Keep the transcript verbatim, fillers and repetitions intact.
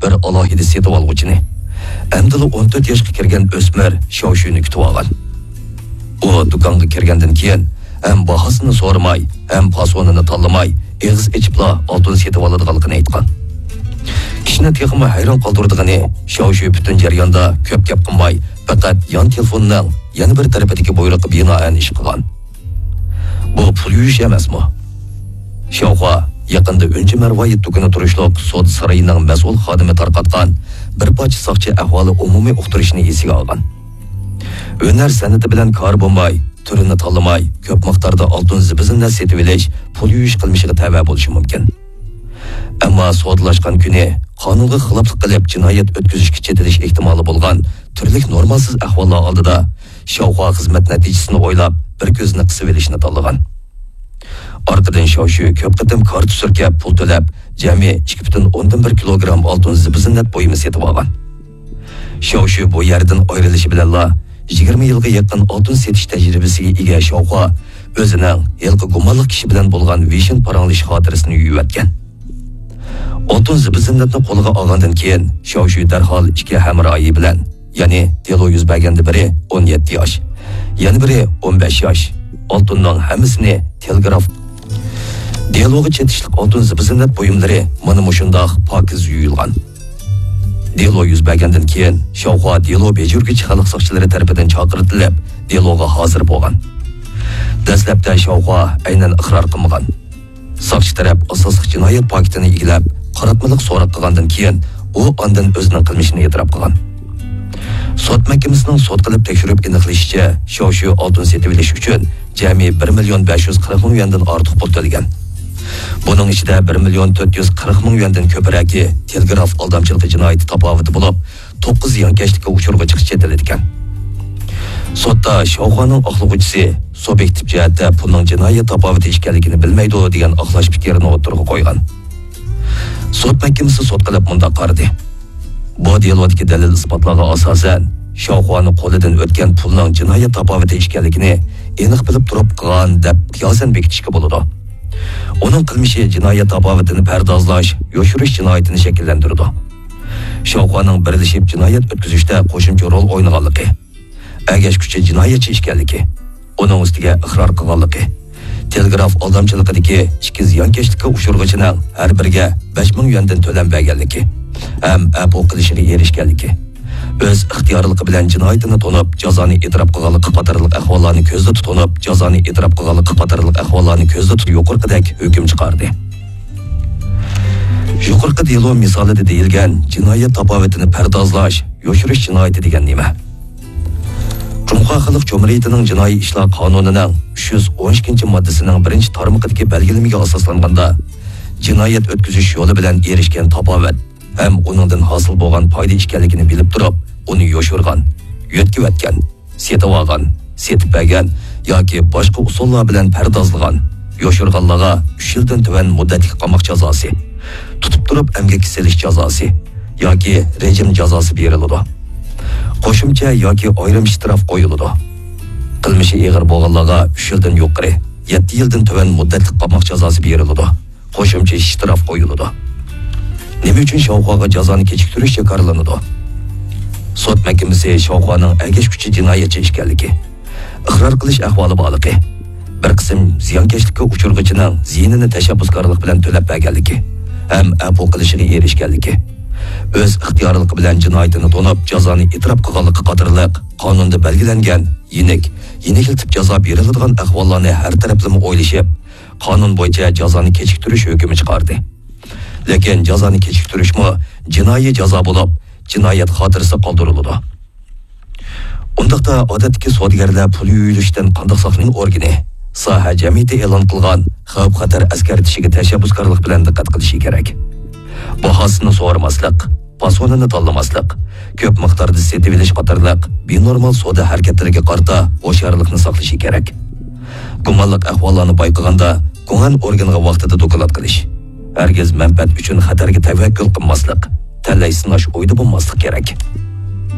بىر ئالاھىدە سېتىۋالغۇچىنى، ئەمدىلا ئون تۆت ياشقا كىرگەن ئۆسمۈر شياۋشۈنى كۈتۈۋالغان. ئۇ دۇكانغا كىرگەندىن كېيىن ھەم باھاسىنى سورىماي، ھەم پاسونىنى تاللىماي، ئېغىز ئېچىپلا ئالتۇن سېتىۋالىدىغانلىقىنى ئېيتقان. كىشىنى تېخىمۇ ھەيران قالدۇرىدىغىنى، شياۋشۈ پۈتۈن جەرياندا كۆپ گەپ قىلماي، پەقەت يان تېلېفوننىڭ يەنە بىر تەرىپىدىكى بۇيرۇققا بىنائەن ئىش قىلغان. بۇ پۇل يۇيۇش ئەمەسمۇ؟ شياۋخۇا يېقىندا ئۈنچە مەرۋايىت دۇكىنى تۇرۇشلۇق سودا سارىيىنىڭ مەسئۇل خادىمى تارقاتقان بىر پارچە ساقچى ئەھۋالى ئومۇمىي ئۇقتۇرۇشنى ئېسىگە ئالغان. ھۈنەر سەنئىتى بىلەن كارى بولماي، تۈرىنى تاللىماي، كۆپ مىقداردا ئالتۇن زىبۇ-زىننەت سېتىۋېلىش پۇل يۇيۇش قىلمىشىغا تەۋە بولۇشى مۇمكىن. ئەمما سودىلاشقان كۈنى قانۇنغا خىلاپلىق قىلىپ جىنايەت ئۆتكۈزۈشكە چېتىلىش ئېھتىمالى بولغان تۈرلۈك نورمالسىز ئەھۋاللار ئالدىدا شياۋخۇا خىزمەت نەتىجىسىنى ئويلاپ، بىر كۆزىنى قىسىۋېلىشنى تاللىغان. ئارقىدىن شياۋشۈ كۆپ قېتىم كارتا سۈركەپ پۇل تۆلەپ، جەمئىي ئىككى پۈتۈن ئوندىن بىر كىلوگرام ئالتۇن زىبۇ-زىننەت بۇيۇمى سېتىۋالغان. شياۋشۈ بۇ يەردىن ئايرىلىشى بىلەنلا، يىگىرمە يىلغا يېقىن ئالتۇن سېتىش تەجرىبىسىگە ئىگە شياۋخۇا ئۆزىنىڭ ھېلىقى گۇمانلىق كىشى بىلەن بولغان ۋىشىن پاراڭلىشىش خاتىرىسىنى يۇيۇۋەتكەن. ئالتۇن زىبۇ-زىننەتنى قولىغا ئالغاندىن كېيىن، شياۋشۈ دەرھال ئىككى ھەمراھى بىلەن، يەنى دېلو يۈز بەرگەندە بىرى ئون يەتتە ياش، يەنە بىرى ئون بەش ياش، ئالتۇننىڭ ھەممىسىنى تېلېگراف. دېلوغا چېتىشلىق ئالتۇن زىبۇ-زىننەت بۇيۇملىرى مانا مۇشۇنداق پاكىز يۇيۇلغان. دېلو يۈز بەرگەندىن كېيىن، شياۋخۇا دېلو بېجىرگۈچى خەلق ساقچىلىرى تەرىپىدىن چاقىرتىلىپ، دېلوغا ھازىر بولغان. دەسلەپتە شياۋخۇا ئەينەن ئىقرار قىلمىغان. ساقچى تەرەپ ئاساسلىق جىنايەت پاكىتىنى ئىگىلەپ، قاراتمىلىق سوراق قىلغاندىن كېيىن، ئۇ ئاندىن ئۆزىنىڭ قىلمىشىنى ئېتىراپ قىلغان. سوت مەھكىمىسىنىڭ سوت قىلىپ تەكشۈرۈپ ئېنىقلىشىچە، شياۋشۈ ئالتۇن سېتىۋېلىش ئۈچۈن جەمئىي بىر مىليون بەش يۈز قىرىق مىڭ يۈەندىن ئارتۇق پۇل تۆلىگەن. بۇنىڭ ئىچىدە بىر مىليون تۆت يۈز قىرىق مىڭ يۈەندىن كۆپرەكى تېلېگراف ئالدامچىلىقى جىنايىتى تاپاۋىتى بولۇپ، توققۇز زىيانكەشلىككە ئۇچرىغۇچىغا چېتىلىدىكەن. سوتتا شياۋخۇانىڭ ئاقلىغۇچىسى سۇبيېكتىپ جەھەتتە پۇلنىڭ جىنايەت تاپاۋىتى ئىكەنلىكىنى بىلمەيدۇ دېگەن ئاقلاش پىكرىنى ئوتتۇرىغا قويغان. سوت مەھكىمىسى سوت قىلىپ مۇنداق قارىدى. بۇ دېلودىكى دەلىل-ئىسپاتلارغا ئاساسەن، شياۋخۇانىڭ قولىدىن ئۆتكەن پۇلنىڭ جىنايەت تاپاۋىتى ئىكەنلىكىنى ئېنىق بىلىپ تۇرۇپ قىلغان دەپ قىياسەن بېكىتىشكە بولىدۇ. ئۇنىڭ قىلمىشى جىنايەت تاپاۋىتىنى پەردازلاش، يوشۇرۇش جىنايىتىنى شەكىللەندۈرىدۇ. شياۋخۇانىڭ بىرلىشىپ جىنايەت ئۆتكۈزۈشتە قوشۇمچە رول ئوينىغانلىقى، ئەگەشكۈچى جىنايەتچى ئىكەنلىكى، ئۇنىڭ ئۈستىگە ئىقرار قىلغانلىقى، تېلېگراف ئالدامچىلىقىدىكى ئىككى زىيانكەشلىككە ئۇچرىغۇچىنىڭ ھەر بىرىگە بەش مىڭ يۈەندىن تۆلەم بەرگەنلىكى ھەم ئەپۇ قىلىشىغا ئېرىشكەنلىكى، ئۆز ئىختىيارلىقى بىلەن جىنايىتىنى تونۇپ، جازانى ئېتىراپ قىلغانلىقى قاتارلىق ئەھۋاللارنى كۆزدە تۇتۇنۇپ، جازانى ئېتىراپ قىلغانلىقى قاتارلىق ئەھۋاللارنى كۆزدە تۇتۇپ، يۇقىرىقىدەك ھۆكۈم چىقاردى. يۇقىرىقى دېلو مىسالىدا دېيىلگەن جىنايەت تاپاۋىتىنى پەردازلاش، يوشۇرۇش جىنايىتى دېگەن نېمە؟ جۇڭخۇا خەلق جۇمھۇرىيىتىنىڭ جىنايى ئىشلار قانۇنىنىڭ ئۈچ يۈز ئون ئىككىنچى ماددىسىنىڭ بىرىنچى تارمىقىدىكى بەلگىلىمىگە ئاساسلانغاندا، جىنايەت ئۆتكۈزۈش يولى بىلەن ئېرىشكەن تاپاۋەت ھەم ئۇنىڭدىن ھاسىل بولغان پايدا ئىكەنلىكىنى بىلىپ تۇرۇپ، ئۇنى يوشۇرغان، يۆتكىۋەتكەن، سېتىۋالغان، سېتىپ بەرگەن ياكى باشقا ئۇسۇللار بىلەن پەردازلىغان، يوشۇرغانلارغا ئۈچ يىلدىن تۆۋەن مۇددەتلىك قاماق جازاسى، تۇتۇپ تۇرۇپ ئەمگەككە سېلىش جازاسى ياكى رېجىم جازاسى بېرىلىدۇ. قوشۇمچە ياكى ئايرىم شتراف قويۇلىدۇ. قىلمىشى ئېغىر بولغانلارغا ئۈچ يىلدىن يۇقىرى، يەتتە يىلدىن تۆۋەن مۇددەتلىك قاماق جازاسى بېرىلىدۇ. قوشۇمچە شتراف قويۇلىدۇ. نېمە ئۈچۈن شاۋخۇاغا جازانى كېچىكتۈرۈش جاكارلىنىدۇ؟ سوت مەھكىمىسى شاۋخۇانىڭ ئەگەشكۈچى جىنايەتچى ئىكەنلىكى، ئىقرار قىلىش ئەھۋالى بارلىقى، بىر قىسىم زىيانكەشلىككە ئۇچرىغۇچىنىڭ زىيىنىنى تەشەببۇسكارلىق بىلەن تۆلەپ بەرگەنلىكى ھەم ئەپۇ قىلىشىغا ئېرىشكەنلىكى، ئۆز ئىختىيارلىقى بىلەن جىنايىتىنى تونۇپ، جازانى ئېتىراپ قىلغانلىقى قاتارلىق قانۇندا بەلگىلەنگەن يېنىك، يېنىكلىتىپ جازا بېرىلىدىغان ئەھۋاللارنى ھەر تەرەپلىمە ئويلىشىپ، قانۇن بويىچە جازانى كېچىكتۈرۈش ھۆكمى چىقاردى. لېكىن جازانى كېچىكتۈرۈشمۇ جىنايى جازا بولۇپ، جىنايەت خاتىرىسى قالدۇرۇلىدۇ. ئۇنداقتا ئادەتتىكى سودىگەرلەر پۇل يۇيۇلۇشتىن قانداق ساقلىنىش ئورگىنى، ساھە جەمئىيىتى ئېلان قىلغان خەۋپ-خەتەر ئەسكەرتىشىگە تەشەببۇسكارلىق بىلەن دىققەت قىلىشى كېرەك. باھاسىنى سورىماسلىق، پاسونىنى تاللىماسلىق، كۆپ مىقداردا سېتىۋېلىش قاتارلىق بىنورمال سودا ھەرىكەتلىرىگە قارىتا ھوشيارلىقنى ساقلىشى كېرەك. گۇمانلىق ئەھۋاللارنى بايقىغاندا، گۇڭئەن ئورگىنىغا ۋاقتىدا دوكلات قىلىش. ھەرگىز مەنپەئەت ئۈچۈن خەتەرگە تەۋەككۈل قىلماسلىق، تەلەي سىناش ئويىدا بولماسلىق كېرەك.